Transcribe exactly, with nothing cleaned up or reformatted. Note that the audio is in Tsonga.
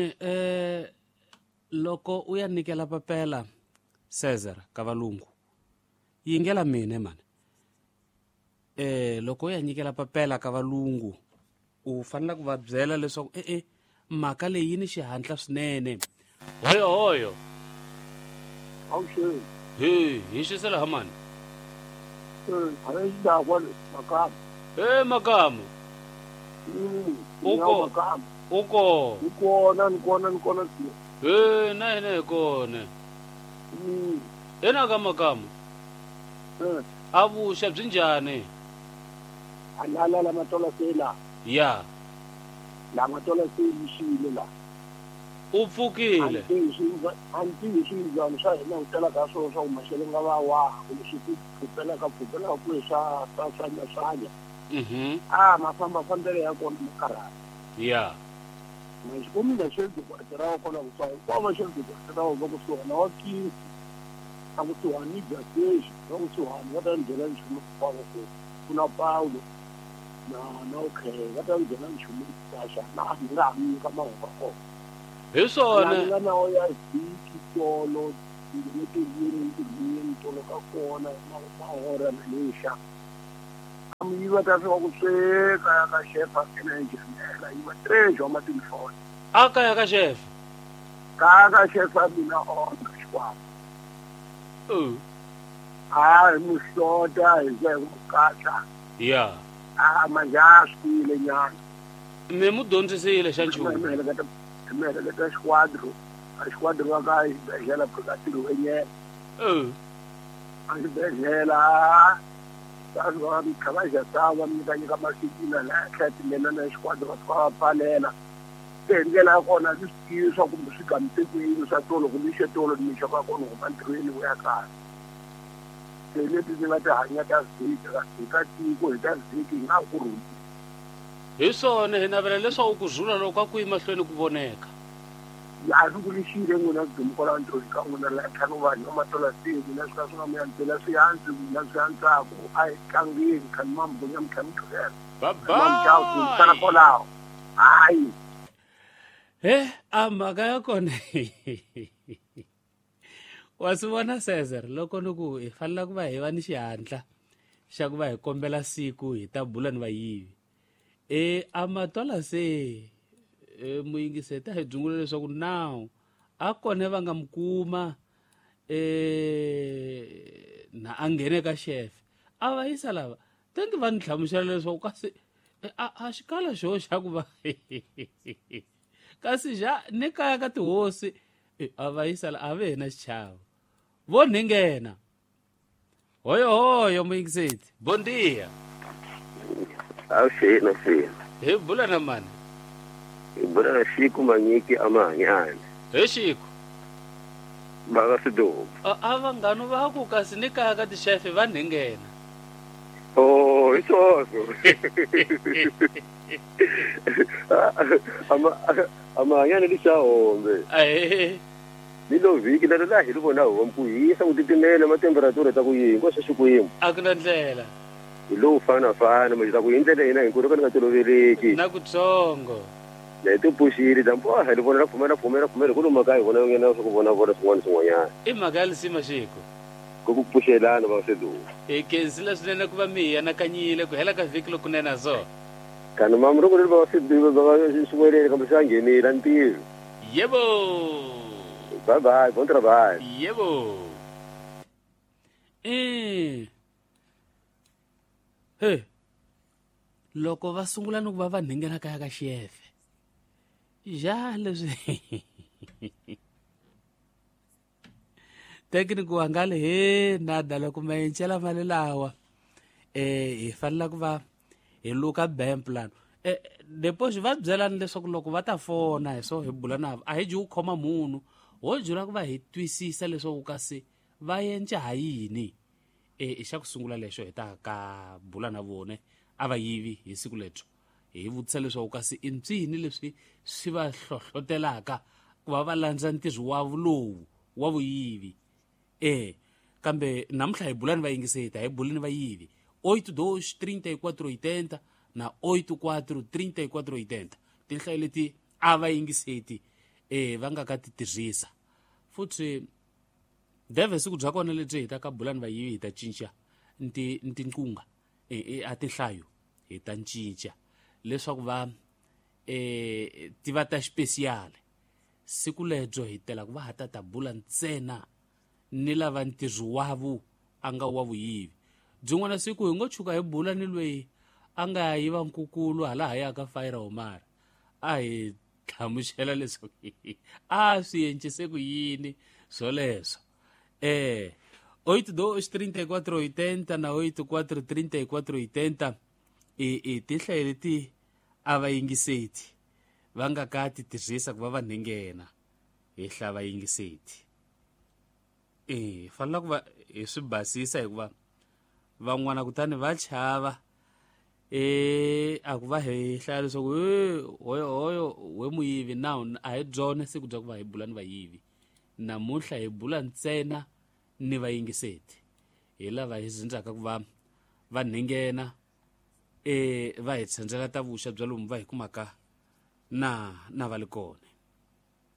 Mani eh loko u ya nyikela papela Cesar ka valungu yingela mina mani eh loko u ya nyikela papela ka valungu u fanele ku va byela leswaku eh eh mhaka leyi yi ni xihatla swinene hoyo hoyo awuxeni he hi xisela ha mani eh xidakwa makamu eh makamu uko makamu uko ni kona ni kona ni kona eh na hina hi kona ena ka makamu eh a vuxa byi njhani alala la matola sela ya la matola se yixile la u pfukile anti swinjhani swa hina ku tala ka swona swa ku maxelo nga va wa kumbe swi ku pfupela ka pfupela ku swa swa swanya swanya mhm a mafamba fambele ya kona makarhala ya maxikomile xedzi ku ra kona ku swa kwa va xedzi ku ra va kusuhana wa kisi a kusuhani bya sexi va kusuhani va ta ndlela nchumu wa ku kuna Paulo na na okay va ta ndlela nchumu xa na ni nga mi ka mahungu ya kona hi swona nga na ya vhiki tolo ntirhweni ntirhweni tolo ka kona na mahora na lexa am yi va ta fika ku sweka ya ka xefa ene njhenela yi va três wa matelefoni a kaya ka xefa ka ka xefa mina ona xikwambu a hi muhlota hi za hi ku katla ya a manje a swi tiyile nyana mi mu dyondzisile xa nchumu miheleketa xiquadro a xiquadro va ka xibedhlele ka tirhwenyela a xibedhlele a va kha va xa va nyika nyika masikina la tlhela timena na xiquadro va fika va pfalela se hi ndlela ya kona ndzi swi tivi swa kumbe swi gamise ku yini swa tolo kumbe xe tolo nimixo ka kona huma ntirhweni wu ya kaya se leti ndzi nga ti hanya ta vhiki hi ta tiko hi ta vhiki hi nga ku rhuli hi swona hi navela leswaku ku zula loko a ku yi mahlweni ku voneka a swi ku lexile n'wina dumu kwala ntirhweni ka n'wina la ntlhanu vanhu va matola se n'wina swi ka swi nga mi yantsela swi hansi n'wina swi antswaku a hi tlangeni kha ni mambunya mi tlha mi tlhela babayi kwalaho hayi he a mhaka ya kona wa swi vona Cesar loko ni ku hi fanele ku va hi va ni xihatla xa ku va hi kombela siku hi ta bula ni vayivi e a matola se e muyingiseta hi byungula leswaku now a kona va nga mu kuma e na a nghene ka xefe a va yisa lava tengi va ni hlamusela leswaku kasi a a xikala xo xa ku va kasi xa ni kaya ka tihosi a va yisa la a ve na xichavo vo nghena hoyo hoyo muyingiseti bon dia awuxeni xeni hi bula na mani hi bula na Xiku Manyiki amahanyana he Xiku va ka Sidomu a vanghanu va ku kasi ni kaya ka tixefe va nghena oh hi swoswo ama amahanyana lixahombe ahe ni lo vhiki lero la hi ri vona homu ku hisa ku titimela matemperatura ta ku yini hinkwaswo Xikwembu a ku na ndlela hi lowu fanafana manje ta ku hi ndlela hina hinkwerhu ka ni nga toloveleki na kutsongo na hi tipuxile dyambu a hi ri vona ra pfumela pfumela pfumela ku lomu kaya hi vona nghena swa ku vona vona swin'wana swin'wanyana i mhaka ya lisima Xiku ku ku pfuxelana va Sidomu hi khensile swinene ku va mi hi anakanyile ku hela ka vhiki lokunene so kana mamu loko ri va Sidomu va xiwelele kambe swi a nghenile a ni tivi yebo bye bye bon travail yebo eh he loko va sungula ni ku va va nghena kaya ka xefe ja leswi tekniki wa nga le he nada loko ma encela mali lawa eh hi fanele ku va hi luka bank plan eh depois va byelani leswaku loko va ta fona hi so hi bula na a hi ji ku khoma munhu ho jula ku va hi twisisa leswaku kasi va endla ha yini e xa ku sungula lexo hi ta ka bula na vone a va yivi hi siku lebyo hi vutisa leswaku kasi i ncini leswi swi va hlohlotelaka ku va va landza ntirho wa lowu wa vuyivi e kambe namuntlha hi bulani va yingiseta hi bulani va yivi oito dois trinta e quatro oitenta na oito quatro trinta e quatro oitenta tinhlayo leti a va yingiseti eh va nga ka ti tirhisa futhi deve siku bya kona lebyi hi ta ka bulani vayivi hi ta cinca nti ntinqunga e a tinhlayo hi ta cinca leswaku va eh ti va ta special siku lebyo hi tela ku va ha ta ta bula ntsena ni lava ntirho wavo a nga wa vuyivi byin'wana siku hi ngo tshuka hi bula ni lweyi a nga yiva nkukulu hala ha ya ka Fire Omar a hi hlamusela leswaku a swi encise ku yini swoleswo eh oito dois trinta e quatro oitenta na oito quatro trinta e quatro oitenta e e tinhlayo leti a va yingiseti va nga ka ti tirhisa ku va va nghena hi hlava yingiseti eh fanela ku va hi swi basisa hikuva van'wana kutani va chava eh a ku va hi hlaya leswaku hoyo hoyo we muyivi na a hi byona siku bya ku va hi bula ni vayivi namuntlha hi bula ntsena ni vayingiseti hi lava hi zindzaka ku va va nghena eh va hi tshendzela ta vuxa bya lomu va hi kumaka na na va le kona.